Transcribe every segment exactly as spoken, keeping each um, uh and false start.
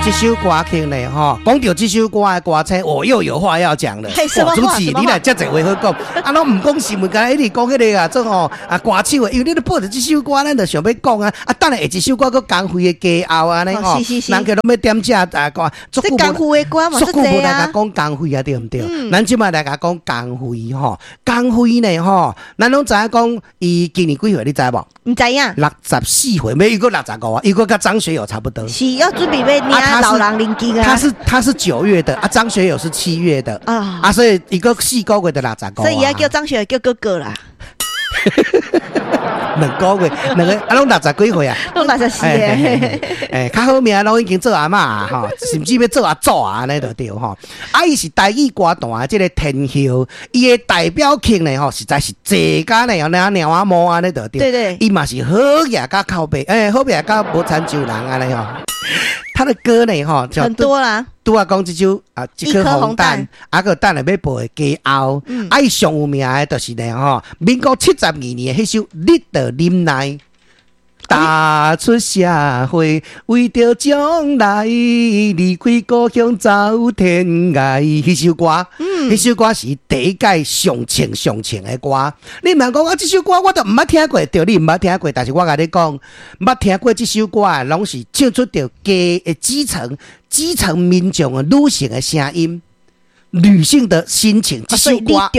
這首歌曲呢，吼，講著這首歌的歌星，我又有話要講了。什麼話？主持你來遮濟話好講，啊，攏毋講新聞，敢若一直講彼個啊，做吼啊歌手的，因為你咧播著這首歌，咱就想欲講啊。啊，等下下一首歌閣江蕙的家後按呢吼，人家攏欲點這啊歌，這江蕙的歌嘛，足久無來共講江蕙啊，對毋對？咱這擺來共講江蕙吼，江蕙呢吼，咱攏知影講伊今年幾歲？你知無？毋知影。六十四歲，欲閣六十五啊，伊閣佮張學友差不多。是要準備欲領老人年金啊。他是他是九月的啊，張學友是七月的啊，啊，所以伊閣四個月就六十五。所以伊叫張學友叫哥哥啦。兩個月，兩个啊，攏六十幾歲啊？攏六十四歲。欸，較好命攏已經做阿嬤吼，甚至欲做阿祖啊，按呢就對吼。啊，伊是台語歌壇的這個天后，伊的代表曲呢吼，實在是濟甲呢，那貓仔毛按呢就對。對對。伊嘛是好額佮口碑，欸，好額佮無親像人按呢吼。他的歌呢吼，很多啦。拄仔講這首啊，一顆紅蛋，啊閣等下欲播的家後，啊伊上有名的就是呢吼，民國七十二年的彼首《你著忍耐》，踏出社會，為著將來，離開故鄉走天涯。彼首歌，彼首歌是第一屆上唱上唱的歌。你毋通講啊，這首歌我都毋捌聽過，對，你毋捌聽過，但是我共你講，捌聽過這首歌的，攏是唱出著家的基層。基層民眾的女性的聲音，女性的心情。這首歌，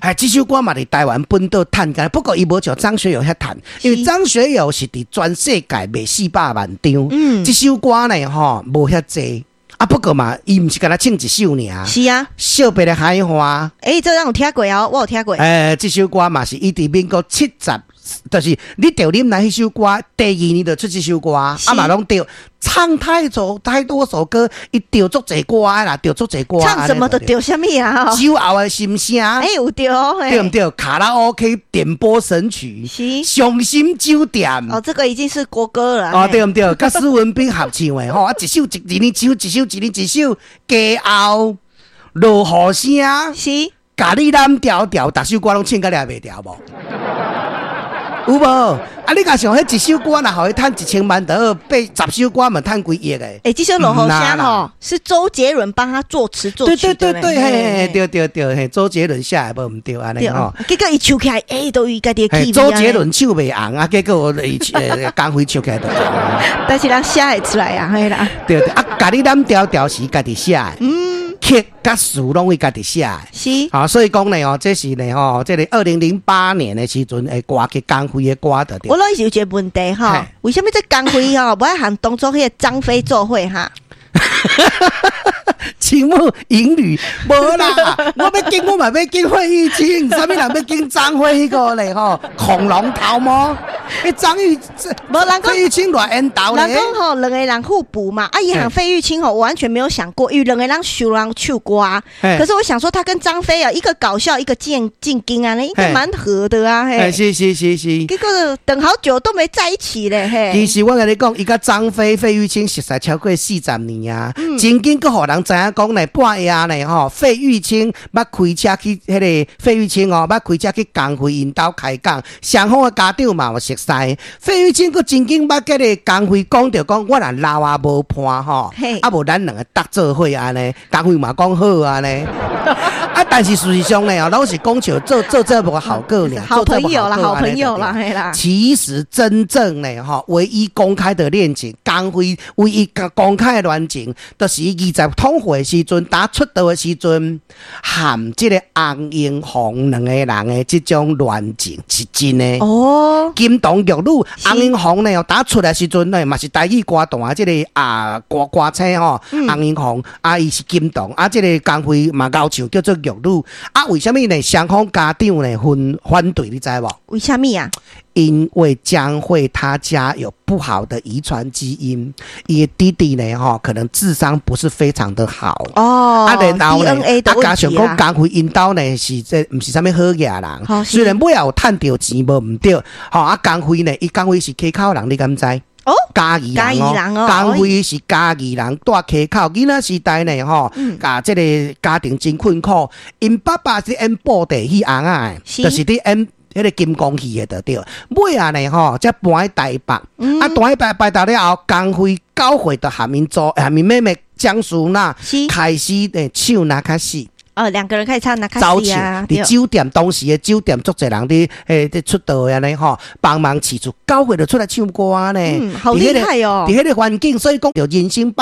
哎，這首歌嘛佇台灣本島趁甲，不過伊無像張學友遐趁，因為張學友是佇全世界賣四百萬張。嗯，這首歌呢，吼，無遐濟。啊，不過嘛，伊毋是干焦唱一首爾。是啊，惜別的海花。欸，這咱有聽過哦，我有聽過。欸，這首歌嘛是伊佇民國七十，就是你著忍耐彼首歌，第二年就出這首歌，啊嘛攏著唱太多太多首歌，伊著足濟歌啦，著足濟歌。唱什麼都著啥物啊？酒後的心聲。欸，有著哦，對毋對？卡拉 OK 點播神曲，是傷心酒店。哦，這個已經是國歌了。哦，對毋對？佮施文彬合唱的吼，啊，一首一年一首，一首一年一首，家後落雨聲，是，共你攬牢牢，逐首歌攏唱甲掠袂牢無？有無？啊，你若想彼一首歌，若予伊趁一千萬，就好，八十首歌嘛趁幾億的。欸，這首落雨聲吼，是周杰倫幫他作詞作曲的。對對對對，嘿，對對對，嘿，周杰倫寫的無毋對按呢吼。結果伊唱起來，欸，都伊家己的氣。周杰倫唱袂紅啊，結果伊江蕙唱起來就紅。但是人寫會出來啊，嘿啦。對對，啊，共你攬牢牢是家己寫的。嗯。曲佮詞攏伊家己寫的。是。啊，所以講呢，哦，這是呢，吼，這個二零零八年的時陣的歌曲江蕙的歌的。我攏是有一個問題吼，為啥物這江蕙吼，無愛和當初彼個張飛做伙哈？青木淫女無啦，我欲揀我嘛欲揀費玉清，啥物人欲揀張飛彼個咧吼？恐龍頭毛，彼張玉無人講費玉清偌緣投咧。人講吼，兩個人互補嘛。啊，伊和費玉清吼，我完全沒有想過，因為兩個人熟人唱歌。可是我想說，他跟張飛啊，一個搞笑，一個正正經啊，應該蠻合的啊。嘿，是是是是。結果等好久都沒在一起咧。嘿，其實我共你講，伊佮張飛、費玉清熟似超過四十年啊，真緊閣予人知影講咧，半夜呢吼，費玉清捌開車去彼個費玉清哦，捌開車去江蕙𪜶兜開講，雙方的家長嘛有熟似。費玉清閣曾經捌佮個江蕙講著講，我若老啊無伴吼，啊無咱兩个搭做伙按呢，江蕙嘛講好按呢。啊，但是事實上呢，哦，攏是講笑做做這無好個爾，好朋友啦，好朋友啦，嘿啦。其實真正呢，吼，唯一公開的戀情，江蕙唯一公開的戀情，就是伊二十通歲的時陣，打出道的時陣，和這個洪榮宏兩個人的這種戀情是真的。哦，金童玉女，洪榮宏呢，打出來時陣呢，嘛是台語歌壇這個啊歌歌星吼，洪榮宏啊，伊是金童，啊，這個江蕙嘛𠢕唱叫做玉女。啊，為啥物呢？雙方家長呢反反對，你知無？為啥物啊？因為江蕙她家有不好的遺傳基因，伊的弟弟呢，吼，可能智商不是非常的好。哦，啊，然後呢， D N A 啊，加上講江蕙𪜶兜呢是這毋是啥物好額人，雖然尾仔有趁著錢無毋對，吼啊，江蕙呢，伊江蕙是溪口人，你敢知？哦，嘉義人哦，江蕙是嘉義人，住溪口。囡仔時代呢，吼，共這個家庭真困苦。𪜶爸爸是演布袋戲尪仔的，就是佇演彼個金光戲的就對。尾仔呢，吼，才搬去台北。啊，搬去台北了後，江蕙九歲就和𪜶祖和𪜶妹妹江淑娜是開始咧唱那卡西。哦，兩個人開始唱那卡走西啊，唱，佇酒店當時的酒店，足濟人佇欸佇出道的按呢吼，幫忙飼厝，九歲就出來唱歌呢。嗯，好厲害哦。佇彼個環境，所以講著人生百